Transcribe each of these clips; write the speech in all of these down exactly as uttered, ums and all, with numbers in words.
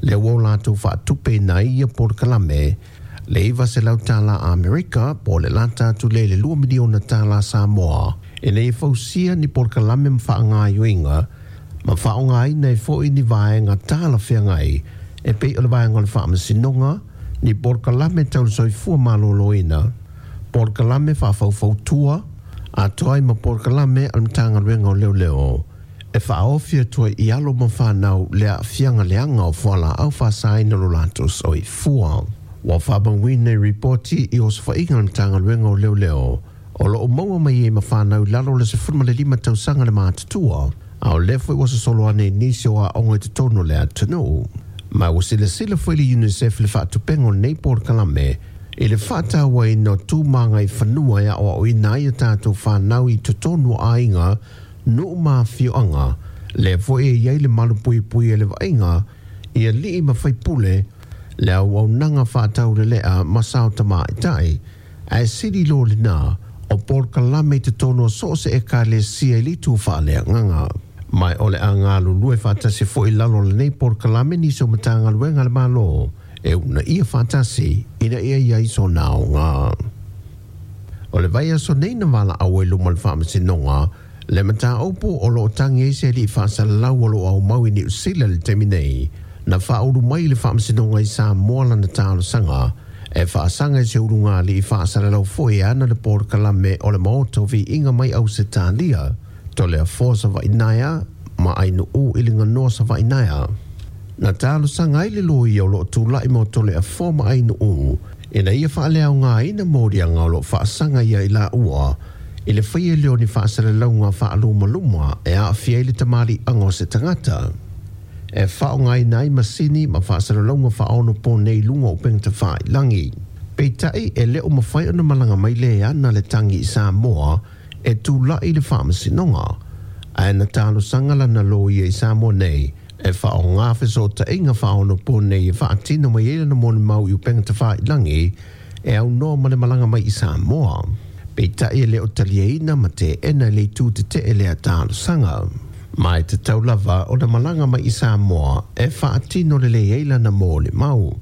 Le ua o latou faatupeina ai ia polokalame le iva selau tala Amerika po o le lata atu lea i le lua miliona tala Samoa ina ia fausia ni polokalame ma faagaoioiga ma faaaogaina ai foi ni vaega talafeagai e pei o le vaega o le faamasinoga, ni polokalame tau le soifua malōlōina, polokalame faafaufautua atoa ai ma polokalame a le Matagaluega o Leoleo e faaofi atu ai i alo ma fanau le aafiaga leaga o fualaau faasaina lo latou soifua. Ua faamauina i ripoti i osofaiga a le Matagaluega o Leoleo o loo maua mai ai ma fanau i lalo o le sefulu ma le lima tausaga le matutua, a o lea foi ua sosolo ane i nisi o aoga i totonu o le atunuu. Ma ua silasila foi le UNICEF i le faatupega o lenei polokalame i le faatauaina o tu ma agaifanua e aoaoina ai a tatou fanau i totonu o aiga, nuu ma afioaga, lea foi e i ai le malupuipuia i le vaaiga i alii ma faipule, le auaunaga faataulelea ma sao tamaitai, ae sili loa lena o polokalame i totonu o so o se ekalesia i le itu faaleagaga. Ma o le a galulue faatasi foi i lalo o lenei polokalame nisi o Matagaluega a le Malo e uunaia faatasi ina ia i ai sona aoga. O le vaiaso nei na valaau ai luma o le faamasinoga le mataupu o loo tagi ai se alii faasalalau o loo aumau i Niu Sila i le taimi nei na faaulu mai i le faamasinoga i Samoa lana talosaga e faasaga i se ulugalii faasalalau foi e ana le polokalame o le Maota o Viiga mai Ausetalia Toleafoa Savainaea ma Ainuu i le ganoa Savainaea. Na talosaga ai le loia o loo tulai mo Toleafoa ma Ainuu ina ia faaleaogaina moliaga o loo faasaga ia i laua i le faia lea o ni faasalalauga faalumaluma e aafia ai le tamaliiaga o se tagata e faaaogaina ai masini ma faasalalauga faaonoponei i luga o upega tafailagi. Peitai e le o mafai ona malaga mai le ana le tagi i Samoa e tulai i le faamasinoga, ae na talosaga lana loia i Samoa nei e faaaoga fesootaiga faaonoponei e faatino mai ai lana molimau i upega tafailagi e aunoa ma le malaga mai i Samoa. Peitai e le o taliaina ma teena e le itu tetee lea talosaga. Ma e tatau lava ona malaga mai i Samoa e faatino lelei ai lana molimau.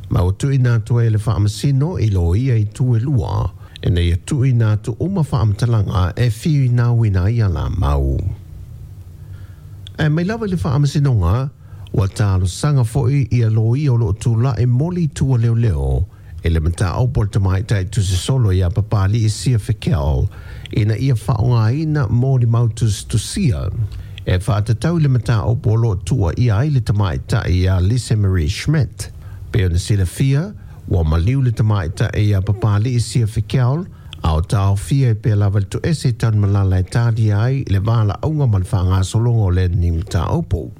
Ma ua tuuina atu ai e le faamasino i loia i itu e lua ina ia tuuina atu uma faamatalaga e finauina ai alamau. Ae mai lava i le faamasinoga, ua talosaga foi ia loia o loo tulai mo le itu a leoleo i le mataupu a le tamaitai tusisolo ia Papali'i Sia Fikel ina ia faaaogaina molimau tusitusia e faatatau i le mataupu o loo tuuaia ai le tamaitai ia Lise Marie Schmidt. Pei ona silafia, ua maliu le tamaitai ia Papali'i Sia Fikel a o taofia ai pea lava le toese i Tanumalala e talia ai le valaauga ma le faagasologa o lenei mataupu.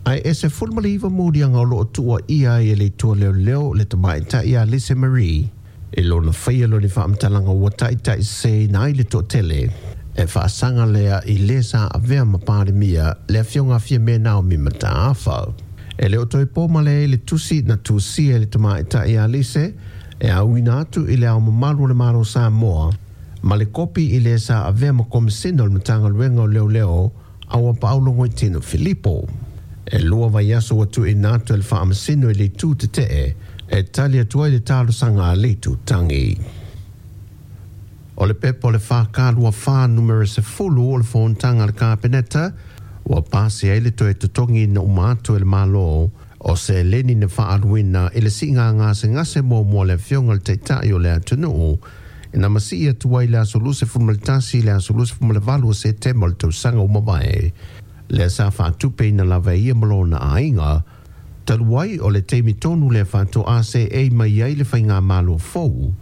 Ae e sefulu ma le iva moliaga o loo tuuaia ai e le itu a leoleo le tamaitai ia Lise Marie i lona faia lea o ni faamatalaga ua taitaiseseina ai le toatele e faasaga lea i le sa avea ma Palemia le afioga a Fiame Naomi Mataafa. E le o toe po male ai le tusi na tusia e le tamaitai ia Lise e auina atu i le Ao Mamalu o le Malo o Samoa ma le kopi i le sa avea ma Komesina o le Matagaluega o Leoleo Auapaau Logoitino Filipo. E lua vaiaso ua tuuina atu e le Faamasino i le itu tetee e tali atu ai le talosaga a le itu tagi. O le pepa o le F K lua fa numera sefulu o le fonotaga a le Kapeneta ua pasi ai le toe totogiina uma atu e le Malo o seleni na faaaluina i le siiga gasegase muamua a le afioga i le Taitai o le atunuu ina masii atu ai le aso luasefulu ma le tasi i le aso luasefulu ma le valu o Setema o le tausaga ua mavae, lea sa faatupeina lava e ia ma lona aiga, talu ai o le taimi tonu lea faatoa seei mai ai le faigamalo fou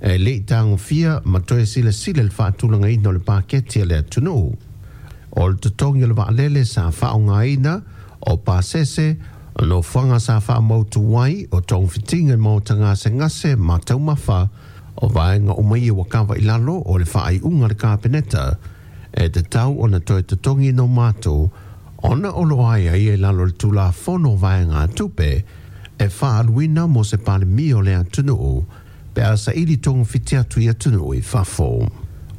e le i tagofia ma toe silasila i le faatulagaina o le paketi a le atunuu. O le totogi o le vaalele sa faaaogaina, o pasese, o nofoaga sa faamautu ai, o togafitiga i maota gasegase ma taumafa, o vaega uma ia ua kava i lalo o le faaiuga a le Kapeneta e tatau ona toe totogi no matou ona o loo aiaia i lalo o le Tulafono o Vaegatupe e faaaluina mo se Palemia o le atunuu pe a saili togafiti atu i atunuu i fafo.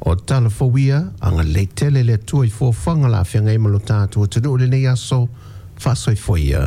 O tala fou ia, agalelei tele le Atua i fuafuaga o le a feagai ma lo tatou atunuu i lenei aso, faasoifua ia.